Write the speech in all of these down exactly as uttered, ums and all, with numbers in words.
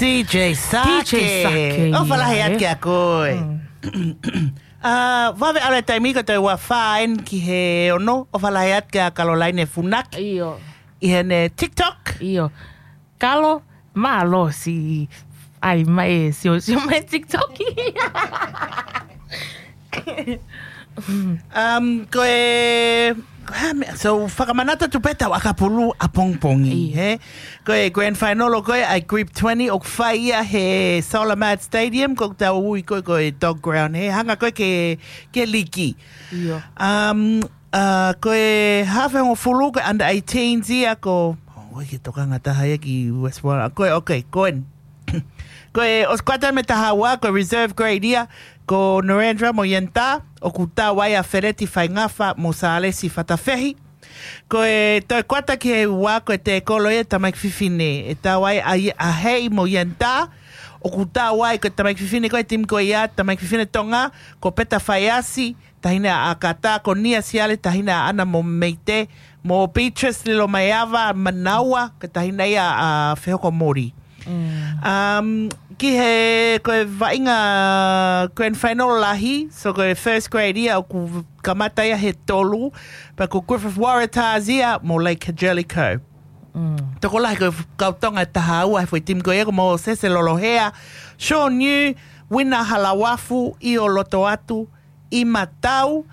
D J Sake. D J Sake, ʻofa lahi atu kia koe. ʻA, vave ʻalu e taimi ko e toe ua fā eni ki he ono, ʻofa lahi atu kia Caroline Funaki. ʻIo. ʻI heʻene TikTok. ʻIo. Kalo, mālō siʻi ʻai mai e sio, sio mai TikTok. Um, ko e, ko e hā meʻa, so fakamanatu atu pē ʻetau ʻakapulu ʻapongipongi, he? Ko e grand final ko ē ʻa e Group twenty ʻoku fai ia he Solamad Stadium, ko ʻetau ui ko ē ko e Dog Ground, he? Hanga ko ē ke, ke liki. ʻIo. Um, uh, ko e haafe hongofulu, ko e under eighteens ia, ko, ʻoku ʻikai ke tokanga taha ia ki West Warrant. Ko e, okay, ko e, ko e ʻosi kuata mei he taha ua, ko e reserve grade ia, ko Narendra mo Yenta, ʻoku tau ai ʻa Feleti Faingafa mo Sālesi Fatafehi. Ko e toe kuata ki he ua, ko e tēkolo ia tamaiki fefine, ʻe tau ai ʻa, ʻa Hei mo Yenta, ʻoku tau ai ko e tamaiki fefine ko e timi ko ia, tamaiki fefine Tonga, ko Peta Faiasi, taʻahine ʻa ʻAkata, ko Nia Siale, taʻahine ʻaʻana mo Meite, mo Beatrice Lilomaiava Manaua, ko e taʻahine ia ʻa Fehoko Mori. Um, ki he, ko e vaʻinga grand final lahi, so ko e first grade ia ʻoku kamata ia he tolu, pea ko Griffith Waratahs ia mo Lake Jellicoe. Tokolahi ko e kau Tonga ʻe taha ua he foʻi timi ko ia, ko Mōsese Lolohea, Sean Yu, Uina Halauafu, ʻIo Lotoatu, ʻIma Tau,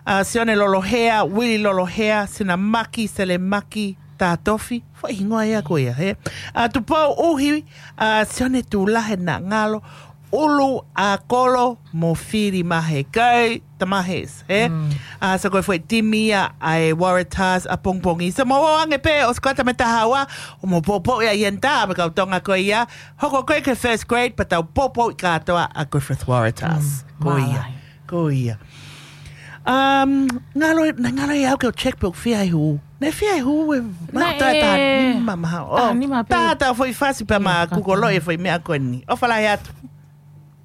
ʻa, Sione Lolohea, Uili Lolohea, Sinamaki, Selemaki Tatofi, foʻi hingoa ia ko ia, he? ʻA, Tupou ʻUhi, ʻa, Sione Tulahe Nangalo, ʻUlu ʻa Kolo mo Fili Mahekau, Tamahes, he? ʻA, so ko e foʻi timi ia ʻa e Waratahs ʻapongipongi. So mou ō ange pē ʻosi kuata mei he taha ua, ʻo mou poupou ia ʻi he nta, mei he kau Tonga ko ia, hoko ko ē ki he first grade, pea tau poupou ʻi kātoa ʻa Griffith Waratahs. Ko ia. Mālō. Ko ia. Um, ngalo, naʻe ngalo ia au ke u check pe ʻoku fie ai hū. Naʻe fie ai hū e, ma, naʻe taha, taha nima maha. Taha nima pē. Taha, taha foʻi fasi pea ma kukoloʻi e foʻi meʻa ko eni. ʻOfa lahi atu.